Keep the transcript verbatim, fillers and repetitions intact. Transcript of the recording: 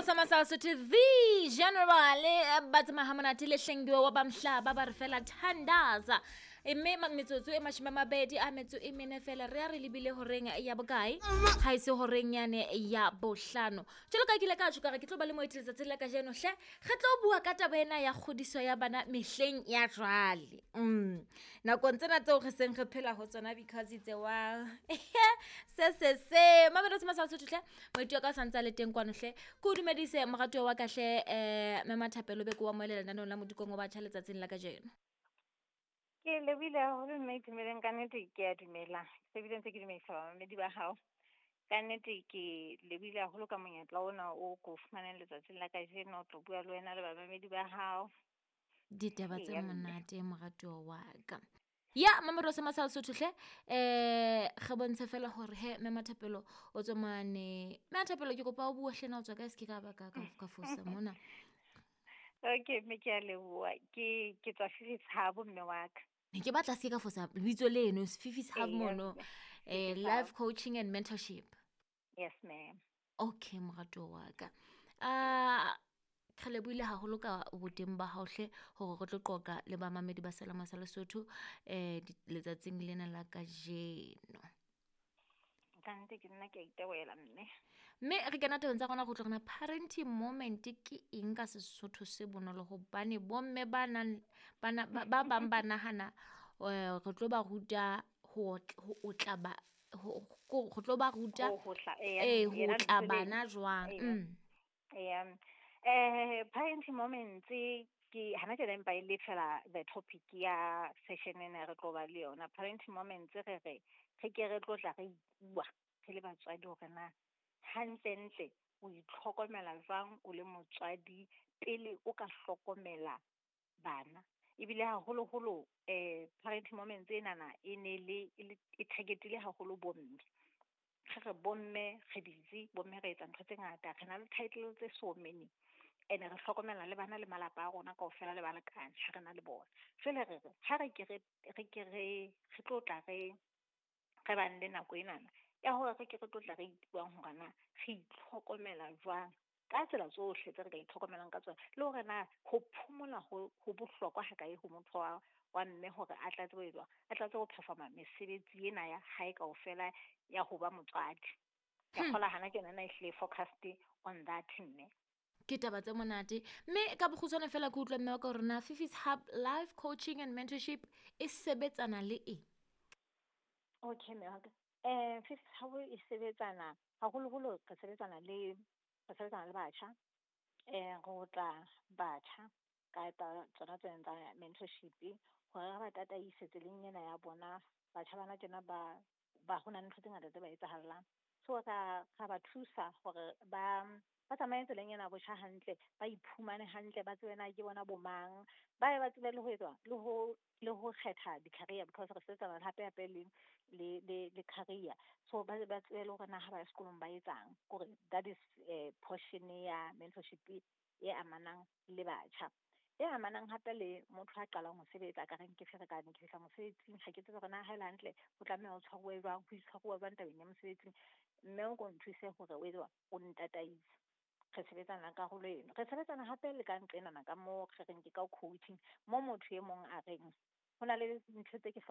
Mamelodi sa Masala Sotho the general eh, ba tsamaya ha monate le hlengiwe wa bamhlaba ba re fela thandaza. E mme ma- metsotso e mashome a mabedi a metso e mene fela re a re lebile horeng ya bokae, ha e se horeng yane ya bohlano. Jwalo ka ke ile ka tjho ka re ke tlo ba le moeti letsatsing la kajeno hle, re tlo bua ka taba ena ya kgodiso ya bana mehleng ya jwale. Mm. Nakong tsena tseo re seng re phela ho tsona because it's a while. Se se se. Mamelodi sa Masala Sotho hle, moeti wa ka o santse a le teng kwano hle. Ke o dumedise moratuwa wa ka hle, eh Mme Mathapelo be ke wa moelela lenaneong la Modikong wa Batjha letsatsing la kajeno. Ke lebohile haholo mme Itumeleng, ka nnete ke a dumela. Se bile ntse ke dumedisa bamamedi ba hao. Ka nnete ke lebohile haholo ka monyetla ona o ko fumaneng letsatsing la kajeno ho tlo bua le wena le bamamedi ba hao. Ditaba tse Eya mme. monate moratuwa wa ka. Ya Mamelodi sa Masala Sotho hle, eh re bontshe fela hore he Mme Mathapelo o tswa mane. Mme Mathapelo ke kopa o bue hle na o tswa kae, se ke ka ba ka ka ka fosa mona. Okay mme, ke a leboha. Ke ke tswa Fifi's Hub mme wa ka. Ne ke batla se ke ka fosa lebitso leno Fifi's Hub Eya, mono. mme. Eh Fifi's Hub. Life coaching and mentorship. Yes ma'am. Okay moratuwa wa ka. Ah re lebohile haholo ka boteng ba hao hle hore re tlo qoqa le bamamedi ba Selama sa Lesotho eh letsatsing lena la kajeno. Ka nnete ke nna ke a itebohela mme. Mme re kena tabeng tsa rona go tlo rena parenting moment ke eng ka Sesotho se bonolo, hobane bomme ba nang ba na- ba ba bang ba nahana eh re tlo ba ruta ho otla, ho otla ba ho ko re tlo ba ruta Ho hotla, eya, eh ho yena otla lebitso leno. bana jwang. Eya. Mm. Eya. Eh parenting moments ke hana tjena empa e le fela the topic ya session ena re tlo ba le yona. Parenting moments re re re ke re tlo tla re ipua re le batswadi hore na hantlentle o itlhokomela jwang o le motswadi pele o ka hlokomela bana. Ebile haholoholo eh parenting moments enana e ne le e le e target-ile haholo bomme. Re re bomme re busy, bomme re etsa ntho tse ngata, re na le title tse so many. Ene re hlokomela le bana le malapa a rona kaofela le balekane ha re na le bona. Jwale re re ha re ke re re ke re re tlo tla re re bang le nako enana ya hore re ke re tlo tla re ipuang hore na re itlhokomela jwang ka tsela tsohle tse re ka itlhokomelang ka tsona, le hore na ho phomola ho ho bohlokwa ha kae ho motho wa wa mme hore a tla tsebe ho etswa, a tla tsebe ho performa mesebetsi ena ya hae kaofela ya ho ba motswadi. Ke Hmm. kgolwa hana tjena na ehlile focused on that mme. Ke taba tse monate. Mme ka bokgutshwane fela ke utlwa mme wa ka hore na Fifi's Hub Life Coaching and Mentorship e sebetsana le eng? Okay mme wa ka. Eh Fifi's Hub e sebetsana haholoholo re sebetsana le re sebetsana le batjha. Eh re otla batjha ka tsa tsona tsena tsa mentorship hore re ba tataise tseleng ena ya bona. Batjha bana tjena ba ba ho na le ntho tse ngata tse ba etsahallang. So ra ra ba thusa hore ba ba tsamaye tseleng ena ya botjha hantle, ba iphumane hantle, ba tsebe na ke bona bo mang, ba ye ba tsebe le ho etswa le ho le ho kgetha di-career because re sebetsana hape hape le le le le career. So ba ba tsebe le hore na ha ba ya sekolong ba etsang. Kore that is eh portion ya mentorship e amanang le batjha. E amanang hape le motho a qalang ho sebetsa ka reng ke ferekane, ke fihla mosebetsing ha ke tsebe hore na ha ele hantle ho tlameha ho tshwaruwe jwang, ho itshwaruwa jwang tabeng ya mosebetsing. Mme o ko nthuse hore o etswa o ntataise. Re sebetsana le karolo eno. Re sebetsana hape le ka nqenana ka moo re reng ke ka coaching, mo motho e mong a reng ho na le ntho tse ke